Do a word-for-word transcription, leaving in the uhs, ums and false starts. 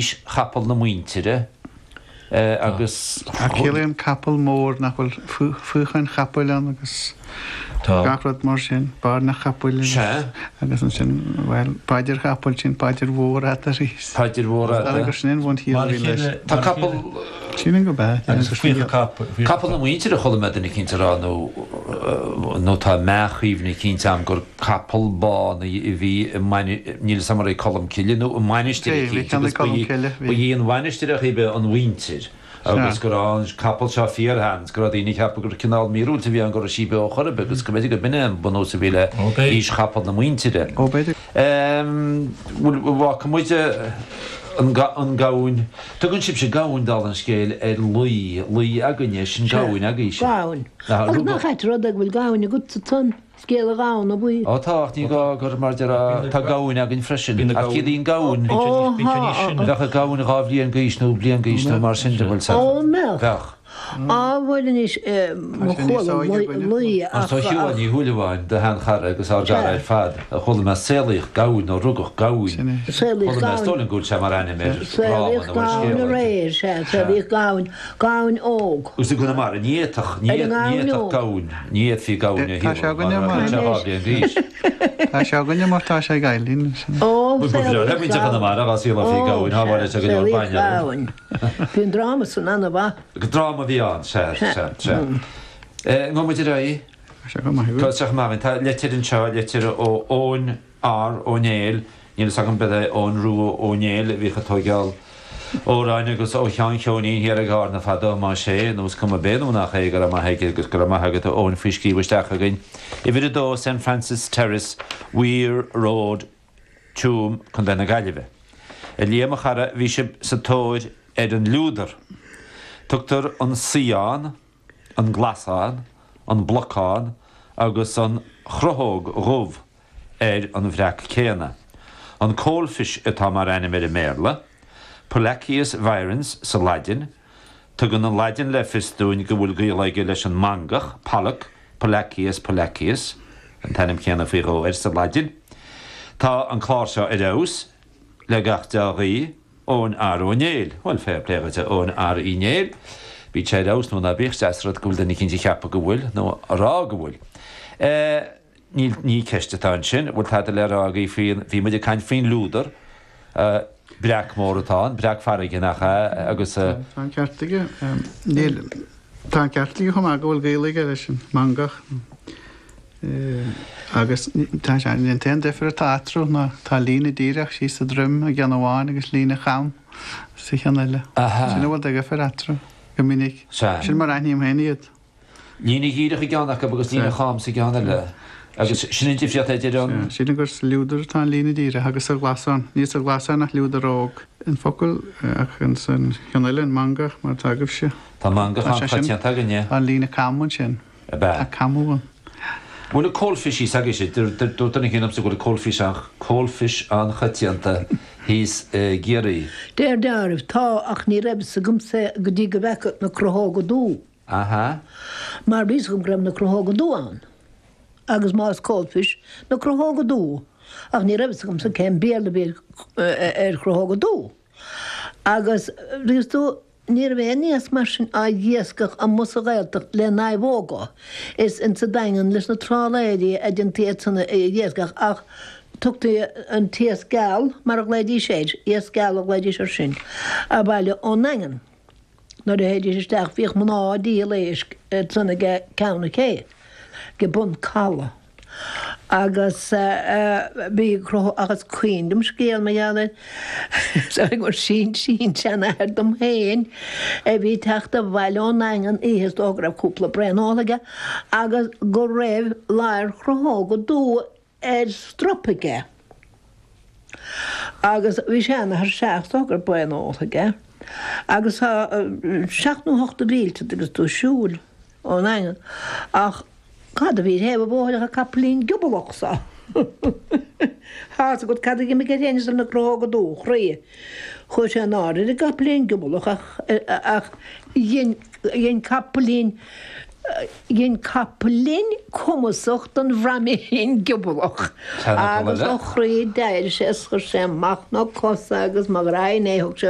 Chapall na Muintire agus. Ach ciallaíonn capall mór nach bhfuil faochain chapaill ann agus gach rud mar sin, bairne chapaill agus ansin, bhuel, paidir chapaill, sin paidir mhór fhada arís. Paidir mhór fhada. Is dóigh gur sin an bhunchiall a bhí leis. Tá capall. Sílim gurb ea. Agus capall na muintire a chuala mé duine eicínt a rá nó nó tá meathchuimhne eicínt agam gur capall bán a bhí i níl 'fhios a'm arbh é Colm Cille nó i mainistir eicínt agus ba í ba í an mhainistir a chuibhe an mhuintir agus go raibh an capall seo fíorshean 's go raibh daoine ag ceapadh gur cineál míorúilt a bhí ann go raibh sí beo chor ar bith agus go mb'fhéidir go b'in é an bunús a bhí le haois chapall na muintire. Bhuel, bhfaca muid an gamhain. Tugann sibhse gamhain, dála an scéil, ar lao, lao againne, sin gamhain agaibhse. Gamhain. Agus nach ait rud é go bhfuil gamhain agatsa san scéal a ghamhna buí. Ó tá, ach ní gá gur mar déarfá, tá gamhain againn freisin. Ach ciallaíonn gamhain, bheadh an gamhain dhá bhliain d'aois nó bliain d'aois nó mar sin de, bhfuil 's agat. Ó, mbeadh. Bheadh. Á, bhuel anois, mo chuala lao Mar ach. tá Shiubhán Ní Shúilleabháin, do sheanchara agus ár gcara ar fad, a chuala mé saolaíodh gamhain nó rugadh gamhain. Saolaíodh Chuala mé, is gamhain. dóigh liom go bhfuil sé mar ainm ar dhráma Saolaíodh nó ar gamhain scéal. aréir, sea, saolaíodh gamhain, gamhain óg. Agus i gConamara ní fhéadfadh, ní Ar an ngamhain fhéadfadh óg. gamhain, ní fhéadfaí gamhain a Tá sé shaolú againne mar mar. bheadh sé dhá bhliain d'aois. Tá sé againne mar tá sé ag Eileen. Ó, Ba bhreá le saolaíodh muintir gamhain. Chonamara dhá saolófaí Ó, gamhain, sea, shábháileadh sé go leor saolaíodh bainne orthu. gamhain. Bhí an dráma san an-mhaith. Dráma a bhí ann, sea, sea, sea. Ngabhfaidh muid ar aghaidh. Tá sé go maith. Tá sé go maith. Tá litir anseo, litir ó Eoin R. Ó Néill, níl fhios agam b'é Eoin Rua Ó Néill a bhíodh ag tóigeáil amhráin agus ó Sheán Cheoinín thiar ag Árna fadó, más é, nó is cuma b'é nó nach é, go raibh maith aige agus go raibh maith agat a Eoin faoi scríobh isteach chugainn. Uimhir a dó, Saint Francis Terrace, Weir Road, Tuaim, Contae na Gaillimhe. A Liam, a chara, bhí sibh sa tóir ar an liúdar. Tugtar an saothán, an glasán, an blocán agus an chruthóg dhubh ar an bhreac céanna. An coalfish atá mar ainm air i mBéarla, Pollachius virens sa Laidin. Tugann an Laidin le fios dúinn go bhfuil gaol aige leis an mangach, pollock, Pollachius pollachius, an t-ainm céanna faoi dhó air sa Laidin. Tá an clár seo ar fheabhas, le gach dea-ghuí, Eoin R. Ó Néill. Bhuel, fair play dhuit, a Eoin R. Uí Néill. Bíodh sé ar fheabhas nó ná bíodh, is deas rud go bhfuil duine eicínt ag ceapadh go bhfuil, nó a rá go bhfuil. Níl, ní ceist atá ansin. Bhfuil tada le rá agaibh faoin, bhí muid ag caint faoin liúdar, breac mór atá ann, breac farraige nach ea, agus. Tá an ceart aige. Níl, tá an ceart aige chomh maith go bhfuil gaol aige leis an mangach. Agus tá sé, an t-aon difear atá eatarthu ná tá líne díreach síos sa droim i gceann amháin agus líne cham sa cheann eile. Sin a bhfuil de dhifear eatarthu go minic. Sin mar a aithním féin iad. Líne dhíreach i gceann acu agus líne cham sa gceann eile. Agus sin an difríocht idir an. Sílim gur sa liúdar atá an líne díreach agus sa ghlasán. Níl sa ghlasán ach liúdar óg. An focal ach insan cheann eile, an mangach, mar atá agaibhse. Tá mangach an-choitianta againne. Tá an líne cam ansin. Ab ea? Tá camú ann. Bhfuil an coalfish thíos agaibhse? Dúirt duine éigin liomsa go bhfuil an coalfish an coalfish an-choitianta thíos i gCiarraí. Deir deáraimh, tá, ach ní raibh fhios agamsa go dtí go bhfeaca na cruthóga dubha. Aha. Mar bhí fhios agam go raibh na cruthóga dubha ann. Agus más coalfish, na cruthóga dubha. Ach ní raibh fhios agamsa cén Béarla a bhí ar chruthóga dubha. Agus, bhí fhios tú, Ní raibh aon iasc mar sin á iascach amuigh sa Ghaeltacht le naomhóga. Is insa Daingean leis na trálaeirí a déantaí iad san a iascach ach tugtaí an t-iasc geal, mar a ghlaoidís air, iasc geal a ghlaoidís air sin, abhaile ón nDaingean. Nuair a théidís isteach bhíodh mná ag díol éisc ansan age ceann na cé, age bun caladh. Agus bhí cruth ach is cuimhin liom scéal mar gheall air gur sin-sin-seanathair dom féin a bhí ag teacht abhaile ón nDaingean oíche is dócha go raibh cúpla braon óltha aige agus go raibh ladhar chruthóga dubha ar strop aige agus bhí seanathair sea is dócha go raibh braon óltha aige agus tá seacht nó ocht de mhílte agus tú ag siúl ón nDaingean ach Cad a bhí ar thaobh an bhóthair ach an capaillín giobalach so. Tá's agat cad a d'imigh air féin is ar na cruthóga dubha, chroí. Chuaigh sé in airde ar an gcapaillín giobalach ach ach dhein dhein capaillín Dhein capaillín cumasach den bhraimín giobalach agus ó chroí d'éirigh sé is chuir sé amach na cosa agus mo ghraidhin é thug sé